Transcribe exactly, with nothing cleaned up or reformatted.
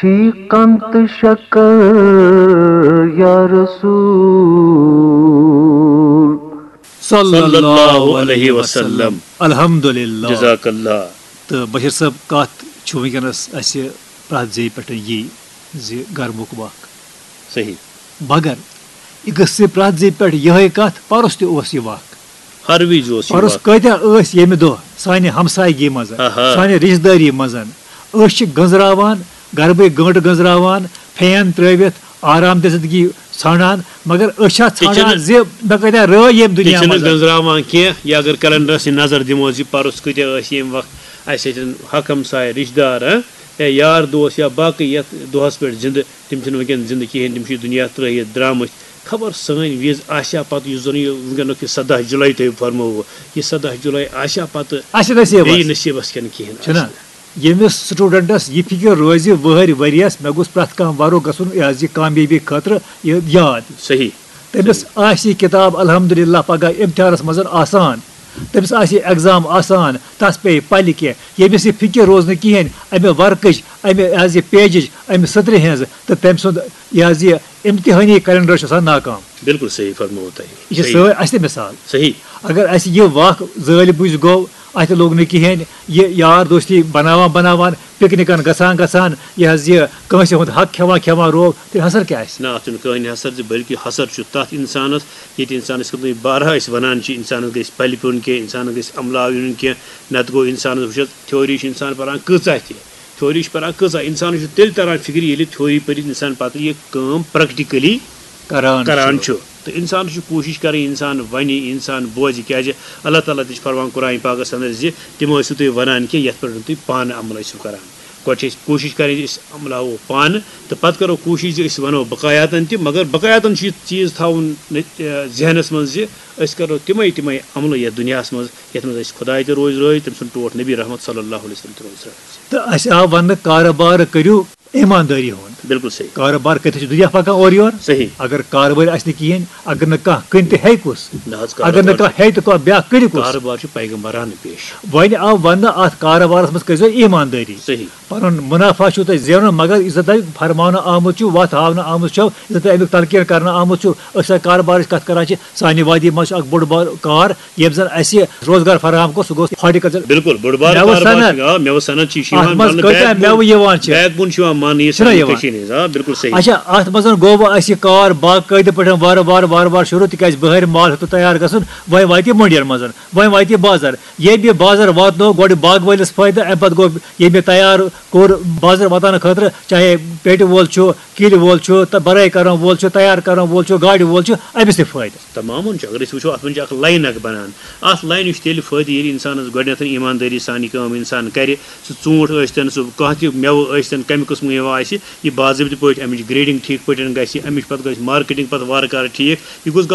شیخ کن تہٕ شکر یا رسول۔ صلی اللہ علیہ وسلم۔ الحمدللہ۔ جزاک اللہ۔ تہٕ بشیر صٲب، کتھ چھُ وٕنکیٚنس اسہِ پرٛٮ۪تھ زیٚیہِ پٮ۪ٹھ یی زِ گرمُک وق۔ صحیح۔ مگر یہِ گٔژھ پرٛٮ۪تھ زیٚیہِ پٮ۪ٹھ یِہے کتھ، پرُس تہِ اوس یہِ وق۔ ہر وِزِ اوس یہِ پرُس وق۔ کۭتیاہ ٲسۍ ییٚمہِ دۄہ سانہِ ہمسایگی منٛز، آہا۔ سانہِ رشتہٕ دٲری منٛز، أسۍ چھِ گٔنزراوان، گربٕے گٲنٹہٕ گٔنزراوان، فین ترٲوِتھ آرام دِژتھ گی ژھانڈان، مگر أسۍ چھا تہِ چھِنہٕ، ژھانڈان زِ مےٚ کۭتیاہ رٲے ییٚمہِ تہِ دُنیا چھِنہٕ منٛز۔ گٔنزراوان کینٛہہ۔ یا اگر کیلنڈرس یہِ نظر دِمو زِ پرُس کۭتیاہ ٲسۍ ییٚمہِ وقت اسہِ سۭتۍ حق ہمساے، رشتہٕ دار، ہاں، یا یار دوس یا باقٕے یتھ دۄہس پٮ۪ٹھ زندٕ، تِم چھِنہٕ وٕنکیٚن زندٕ کِہیٖنۍ، تِم چھِ یہِ دُنیا ترٲیِتھ درٛامٕتۍ۔ خبر سٲنۍ وِز آسیا پتہٕ، یُس زن یہِ وٕنکیٚنُک یہِ سداہ جُلاے تۄہہِ فرمووُ، یہِ سداہ جُلاے آسیا پتہٕ اَسہِ نصیٖبس۔ بیٚیہِ نصیٖبس کِنہٕ کِہیٖنۍ چھُنہ؟ آسہِ نہٕ۔ ییٚمِس سٹوڈنٹس یہِ فکر روزِ وٕہٕرۍ ؤریس، مےٚ گوٚژھ پرٛٮ۪تھ کانٛہہ ورُق گژھُن، یہِ حظ یہِ کامیٲبی خٲطرٕ یہِ یاد۔ صحیح۔ تٔمِس صحیح۔ آسہِ یہِ کِتاب الحمدللہ پگاہ امتحانس منٛز آسان، تٔمِس آسہِ یہِ ایگزام آسان، تس پیٚیہِ پلہِ کینٛہہ۔ ییٚمِس یہِ فکر روز نہٕ کِہیٖنۍ امہِ ورقٕچ، امہِ حظ یہِ پیجِچ، امہِ سطرِ ہٕنٛز، تہٕ تٔمۍ سُنٛد یہِ حظ یہِ امتحٲنی کیلنڈر چھُ آسان ناکام۔ بالکل صحیح فرموو تۄہہِ۔ یہِ چھِ صحیح۔ سٲنۍ اَسہِ تہِ مثال۔ صحیح۔ اگر اَسہِ یہِ وق زٲلۍ بُجۍ گوٚو، اَتھِ لوٚگ نہٕ کِہیٖنۍ، یہِ یار دوستی بناوان بناوان، پکنکن گژھان گژھان، یہِ حظ یہِ کٲنٛسہِ ہُنٛد حق کھٮ۪وان کھٮ۪وان روو، تیٚلہِ حسر کیٛاہ آسہِ؟ نہ، اَتھ چھُنہٕ کٕہٕنۍ حسر زِ، بلکہِ حسر چھُ تَتھ اِنسانَس، ییٚتہِ اِنسانَس کِتھ کٔنۍ بارہا أسۍ وَنان چھِ، اِنسانَس گژھِ پَلہِ پیوٚن کینٛہہ، اِنسانَس گژھِ عملہٕ آو یُن کینٛہہ، نَتہٕ گوٚو اِنسانَس وٕچھ حظ، تھیوری چھِ اِنسان پَران کۭژاہ تہِ، تھیوری چھِ پَران کۭژاہ، اِنسانَس چھُ تیٚلہِ تَران فِکرِ، ییٚلہِ تھیوری پٔرِتھ اِنسان پَتہٕ یہِ کٲم پرٛٮ۪کٹِکٔلی کران کران چھُ۔ چھُ۔ تہٕ اِنسانَس چھُ کوٗشِش کَرٕنۍ، اِنسان وَنہِ، اِنسان بوزِ، کیٛازِ اللہ تعالیٰ تہِ چھُ فرمان قرآن پاکَس اندر زِ تِم ٲسِو تُہۍ وَنان کینٛہہ یَتھ پٮ۪ٹھ نہٕ تُہۍ پانہٕ عمل ٲسِو کَران۔ گۄڈٕ چھِ أسۍ کوٗشِش کَرٕنۍ زِ أسۍ عملاوو پانہٕ، تہٕ پَتہٕ کَرو کوٗشِش زِ أسۍ وَنو بقایاتَن تہِ، مگر بقایاتَن چھُ یہِ چیٖز تھاوُن نہ-، ذہنَس منٛز زِ أسۍ کَرو تِمَے تِمَے عملہٕ یَتھ دُنیاہَس منٛز، یَتھ منٛز اَسہِ خۄداے تہِ روزِ رٲضۍ، تٔمۍ سُنٛد ٹوٹھ نبی رحمت صلی اللہ علیہ وسلم تہِ روزِ رٲضۍ۔ تہٕ اَسہِ آو وَننہٕ کارٕبار کٔرِو ایٖماندٲری ہُنٛد۔ بالکل صحیح۔ کارٕبار کٔرِتھ چھُ دُنیا پَکان اورٕ یور۔ صحیح۔ اگر کارٕبار آسہِ نہٕ کِہیٖنۍ، اگر نہٕ کانٛہہ کٕنہِ تہِ ہیٚکہِ کُس، نہ حظ، اگر نہٕ کارٕبار کانٛہہ ہیٚیہِ تہٕ کانٛہہ بیٛاکھ کٔرِو کُس۔ کارٕبار چھُ پیغمبرانہٕ پیش۔ وۄنۍ آو وَننہٕ اَتھ کارٕبارَس منٛز کٔرۍزیو ایٖماندٲری۔ صحیح۔ پَنُن مُنافع چھُو تۄہہِ زینُن، مگر یُس زَن تۄہہِ فرماونہٕ آمُت چھُ، وَتھ ہاونہٕ آمُت چھُو، یُس زَن تۄہہِ اَمیُک تلقیٖن کَرنہٕ آمُت چھُو، أسۍ چھِ کارٕبارٕچ کَتھ کَران چھِ، سانہِ وادی منٛز چھُ اَکھ بوٚڑ بار کار، ییٚمۍ زَن اَسہِ روزگار فراہم کوٚر، سُہ گوٚو ہارٹیکلچر۔ بالکل، بوٚڑ بار مٮ۪وٕ کاربار صنعت۔ چھُ، آ، مٮ۪وٕ صنعت چھِ، یہِ چھِ اَتھ یِوان منٛز ماننہٕ کۭتیٛاہ backbone، مٮ۪وٕ یِوان چھِ؟ Backbone چھُ یِوان ماننہٕ، یہِ چھُنہ سانہِ یِوان؟ کٔشیٖرِ ہِنٛز، آ، بالکل صحیح۔ اچھا، اَتھ منٛز گوٚو وۄنۍ اَسہِ یہِ کار باقٲعدٕ پٲٹھۍ وارٕ وارٕ وارٕ وارٕ شروٗع، تِکیٛازِ بہارِ مال ہیوٚتُن تیار گژھُن، وۄنۍ واتہِ یہِ مٔنڈِین منٛز، وۄنۍ واتہِ یہِ بازر۔ ییٚمہِ یہِ بازر واتنو گۄڈٕ باغہٕ وٲلِس فٲیدٕ، اَمہِ پَتہٕ گوٚو ییٚمہِ یہِ تیار کوٚر بازر واتنہٕ خٲطرٕ، چاہے پیٹہِ وول چھُ، کِلۍ وول چھُ، تہٕ بَرٲے کَرَن وول چھُ، تیار کَرَن وول چھُ، گاڑِ وول چھُ، أمِس تہِ فٲیدٕ۔ تَمامَن چھُ۔ اگر أسۍ وٕچھو، اَتھ منٛز چھِ اَکھ line اَکھ بَنان۔ اَتھ lineہِ چھُ تیٚلہِ فٲیدٕ، ییٚلہِ اِنسانَس گۄڈٕنٮ۪تھ ایٖماندٲری سان یہِ کٲم اِنسان کَرِ۔ سُہ ژوٗنٛٹھ ٲسۍتَن، سُہ کانٛہہ تہِ مٮ۪وٕ ٲسۍتَن، کَمہِ قٕسمہٕ مٮ۪وٕ آسہِ، یہِ باضٲبطہٕ پٲٹھۍ اَمِچ grading ٹھیٖک پٲٹھۍ گژھِ، اَمِچ پَتہٕ گژھِ marketing پَتہٕ وارٕ کارٕ ٹھیٖک۔ یہِ گوٚژھ گژھُن